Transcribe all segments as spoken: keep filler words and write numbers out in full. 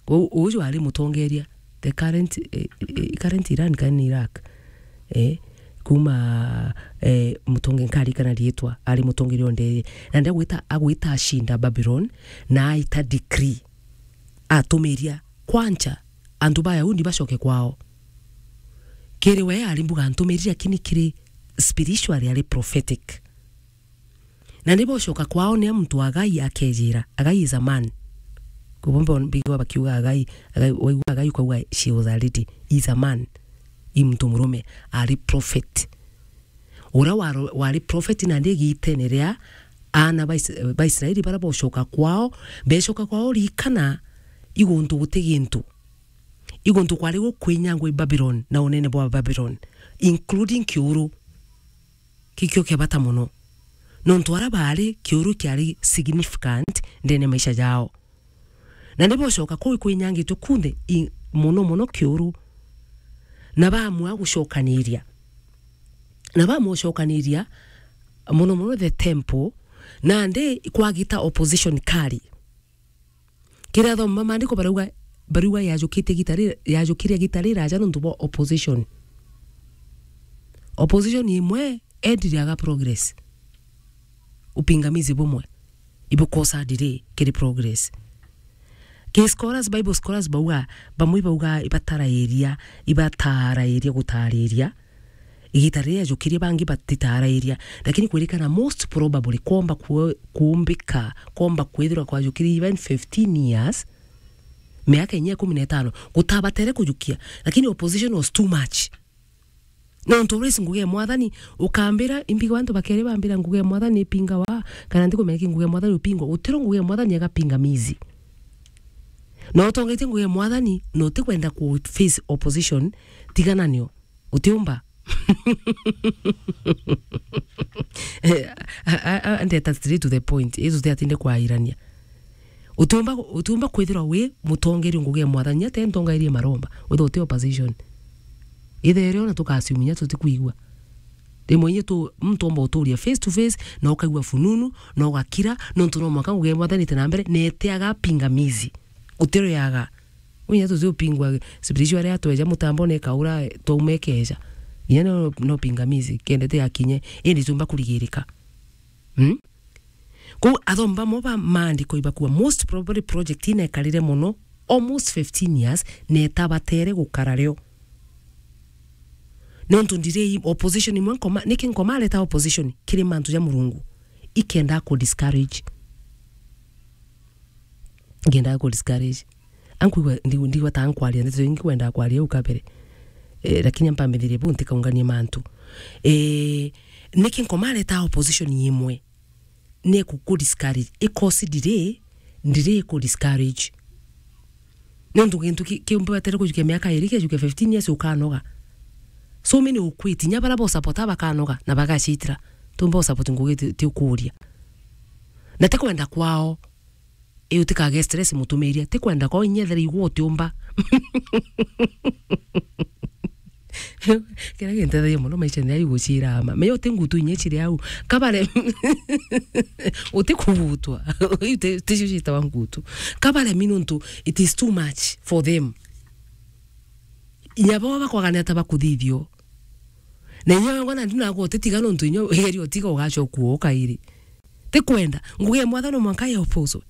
U-, uju ari mutongeria, the current, eh, eh, current Iran kana ni Iraq. Eh, kuma, eh, mutonge-, nkarikana riitwa, ari mutongeria onde. Na ndi agwita, agwita ashinda Babylon, na aita decree. Atumiria, kwanja, antu ba Yahudi bacoke kwao. Kiri we ari mbuga antumiria, lakini kiri spiritually ari prophetic. Na ni bocoka kwao ni muntu Agai akejira, Agai is a man. Kubo mbo mbigwa bakiuga Agai, Agai, waigua Agai ukauga she was a lady, is a man. I muntu murume, ari prophet. Uria waro-, wari prophet na ndi gitene ria ana ba Is-, ba Israeli bara bocoka kwao, becoka kwao rikana iguntu guti gintu. Iguntu kwari gukwinyangwa i Babylon na unene bwa Babylon, including kiuru. Kikio kia bata mono. Nontu ara baari kiuru kiari significant ndene maisha jao. Na ni bocoka kuu ikwinyangitwe kunthe i-, mono mono kiuru. Na baamua gucokaniria. Na baamua gucokaniria mono mono the temple, nandi kwagita opposition kari. Kiria athoma maandiko barauga, barauga yajukitie gita ri-, yajukirie gita riraja nontu bwa opposition. Opposition imwe endire aga progress. Upingamizi bumwe ibukosa delay kiri progress. Ki scholars, Bible scholars bauga, bamwe ibauga ibatarairia, ibatarairia gutariria. Igita riria yajukirie bangi batitarairia, lakini kwirikana most probably kwomba kwe-, kuumbika, kwomba kwithirwa kwajukirie even fifteen years, miaka inya ikumi na itano, gutabatere kujukia, lakini opposition was too much. Nontu uraisi ngugi ya Mwathani, ukambira, imbigwa antu bakeri bambira ngugi ya Mwathani ipingawa, kana ntikumenya ki ngugi ya Mwathani upingwa, gutiro ngugi ya Mwathani aga pingamizi. Na utongetie ngugi ya Mwathani, na utikwenda ku face opposition, tigana nio. Utiumba. Eh, a, a, a, ndeta straight to the point. Yesu ti atinde kwairania. Utiumba, utiumba kwithirwa wi mutongeria ngugi ya Mwathani, ate ntongerie maromba, withirwa uti opposition. Ithere ona tukasiuminya tutikwigua. Rimwe inye tu, muntu omba uturia face to face, na ukaigua fununu, na ugakira, nontu no mwaka ngugi ya Mwathani ite na mbere, na itiaga pingamizi. Utiroyaga. Unya tuti upingwa spiritual aria tweja mutambone kaura twaumekeja. Inya no, no pingamizi, kendete akinye, indi tumba kurigirika. Hmm? Kou athomba mo ba maandiko ibakua, most probably project ina ekarire mono, almost fifteen years, na etabatere gukara rio. Nontu ndirei opposition imwe nkoma, niki nkoma areta opposition kiri mantu ja Murungu? Ikenda ku discourage. Ngiendaga ku discourage. Ankwigua, ndi-, ndigua ta nkwaria ndeto ingi kwendaga kwaria u kabere. Eh, lakini ampa mbithirie bu ntikaunganie mantu. Eh, niki nkoma areta opposition imwe? Ni ku, ku discourage. Ikosi ndiri, ndiri ku discourage. Nontu gintu ki-, kiumbatere kujukia miaka iri, kiajukia fifteen years ukanoga. So many ukwiti, nya bara bo support bakanoga na bagacitira. Tumba support ngugi ti, ti ukuria. Na ti kwenda kwao. Ii utikage stress mutumiria, ti kwenda kwao inya ethera igua utiumba. Kiria gintethagia mono maisha ni ai gucira ama. Menya uti ngutu inya ciri au. Kabare, uti kugutwa. Uyu ti, ti cio ciitawa ngutu. Kabare mi nontu it is too much for them. Inya bo bakwagania ta bakuthithio. Na inya wengwa na ndina gutitiga nontu inya igerio tiga ugacoka uo kairi. Ti kwenda. Ngugi ya Mwathani no mwanka ya opposed.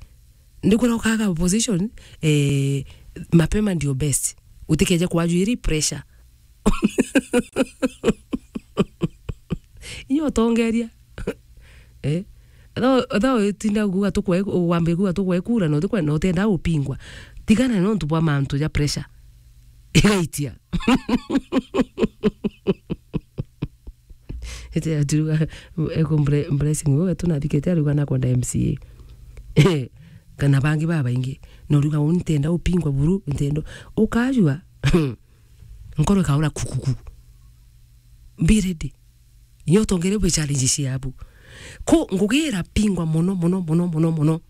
Ndikwira ukaga opposition, eh, mapema ndio best. Utikeje kwajwiri pressure. Inyo utongeria. Eh? Tho, tho utinda kuga tukwe, wambe kuga tukwe kura, no tukwe, no tenda upingwa. Tigana no ntu bwa mantu ja pressure. Igaitia. Ete aturuga, eko Bre-, Blessing wewe tunathikete aruga nakwenda M C A. Kana bangi babaingi. No ruga uni tenda upingwa buru, ntendo. Ukajua. Nkoro ikaura kukuku. Be ready. Nyo tongere bwe challenge ciabu. Ko ngugi irapingwa mono, mono, mono, mono, mono.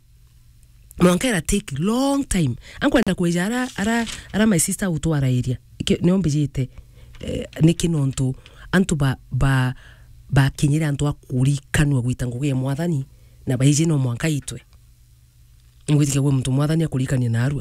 Mwanka ira take long time. Ankwenda kweja ara, ara, ara my sister utwara area. Nio mbijite, eh, niki nontu antu ba, ba, bakinyire antu a kurikanua gwita ngugi ya Mwathani, na baiji no mwanka itwe. Ngwitikia gwe muntu Mwathani akurikania narua.